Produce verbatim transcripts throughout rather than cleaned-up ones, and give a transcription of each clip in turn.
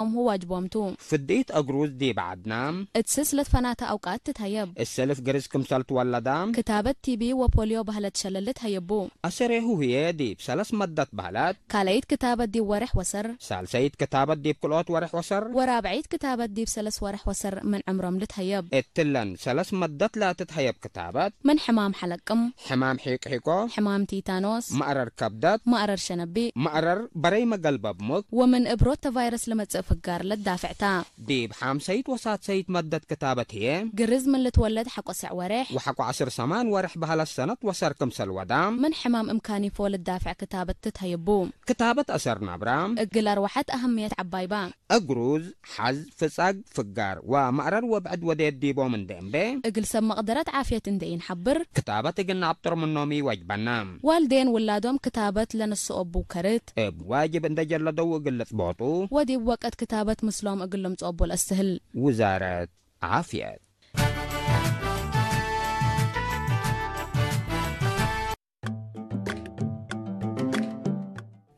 እም ዋጅቦም ቱ። ፍድኢት እግሩዝ ዲብ ዐድና። እት ስስ ለትፈናተ አውቃት ትትሀየብ። እሰልፍ ግርዝ ክምሰል ትወለዳ። ክታበት ቲቢ ወፖልዮ በህለት ሸለል ልትሀየቡ። አሰሬሁ ህዬ ዲብ ሰለስ መደት በህለት። ካልአይት ክታበት ዲብ ወሬሕ ወሰር። ሳልሰይት ክታበት ዲብ ክልኦት ወሬሕ ወሰር። ወራብዐይት ክታበት ዲብ ሰለስ ወሬሕ ወሰር ምን ዕምሮም ልትሀየብ። እትለን ሰለስ መደት ለትትሀየብ ክታበት። ምን ሕማም ሐለቅም። ሕማም ሒቅሒቆ። ሕማም ቲታኖስ። መእረር ከብደት። መእረር ሸነቢ። መእረር በረይ መገልበብ ሙክ። ወምን እብ ሮተ ቫይረስ ለመጽእ ፍጋር ለትዳፍዕ ታ። ዲብ ሓምሰይት ወሳድሰይት መደት ክታበት ህዬ። ግርዝ ምን ልትወለድ ሐቆ ሰዕ ወሬሕ። ወሐቆ ዐስር ሰማን ወሬሕ በህለት ሰነት ወሰር ክምሰል ወዳ። ምን ሕማም እምካኒፎ ልትዳፍዕ ክታበት ትትሀየቡ። ክታበት አሰር ናብራ። እግል አርወሐት አህምየት ዐባይ በ። እግሩዝ፣ ሐዝ፣ ፍጻግ፣ ፍጋር ወመእረር ወብዕድ ወዴት ዲቦም እንዴ እምቤ። እግል ሰብ መቅደረት ዓፍየት እንዴ ኢንሐብር። ክታበት እግል ነአብጥር ምኖም ኢወጅበነ። ዋልዴን ውላዶም ክታበት ለነስኦቡ ከርት። እብ ዋጅብ እንዴ ጀለደው እግል ልጽቦጡ። ወዲብ ወቅት ክታበት ምስሎም እግል ልምጽኦቡ ለአስትህል። ውዛረት ዓፍየት።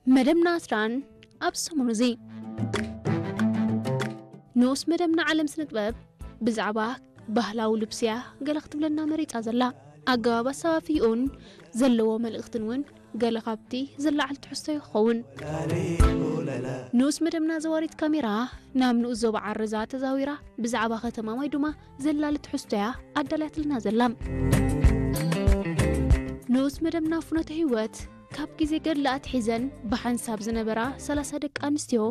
መደብና አስራን አብ ሰሙኑ እዚ። ንኡስ መደብና ዓለም ስነ ጥበብ ብዛዕባ ባህላዊ ልብስያ ገለ ክትብለና መሪጻ ዘላ። ኣገባብ ኣሰፋፍይኡን ዘለዎ መልእኽትን እውን ገለ ካብቲ ዘለዓል ትሕዝቶ ይኸውን። ንኡስ መደብና ዘዋሪት ካሜራ ናብ ንኡስ ዞባ ዓረዛ ተዛዊራ ብዛዕባ ከተማ ማይዱማ ዘላሊ ትሕዝቶያ ኣዳልያትልና ዘላ። ንኡስ መደብና ፍኖተ ህይወት ካብ ግዜ ገድሊ ኣትሒዘን ብሓንሳብ ዝነበራ ሰላሳ ደቂ ኣንስትዮ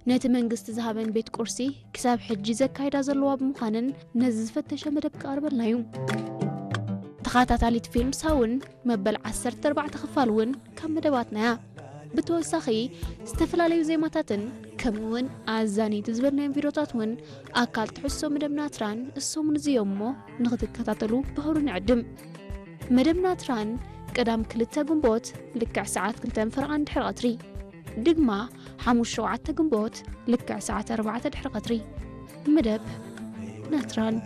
ነቲ መንግስቲ ዝሃበን ቤት ቁርሲ ክሳብ ሕጂ ዘካይዳ ዘለዋ ብምዃነን ነዚ ዝፈተሸ መደብ ክቐርበልና እዩ። ተኻታታሊት ፊልም ሳውን መበል ዓሰርተ ኣርባዕተ ክፋል እውን ካብ መደባትና እያ። ብተወሳኺ፣ ዝተፈላለዩ ዜማታትን ከምኡውን ኣዛነይቲ ዝበልናዮም ቪድዮታት እውን ኣካል ትሕዝቶ መደብና ትራን እሶምን እዚ እዮም እሞ፣ ንኽትከታተሉ ብኽብሪ ንዕድም። መደብና ትራን ቀዳም ክልተ ግንቦት ልክዕ ሰዓት ክልተን ፈረቓን ድሕሪ ቀትሪ፣ ድግማ ሓሙስ ሸውዓተ ግንቦት ልክዕ ሰዓት ኣርባዕተ ድሕሪ ቀትሪ። መደብ ናትራን።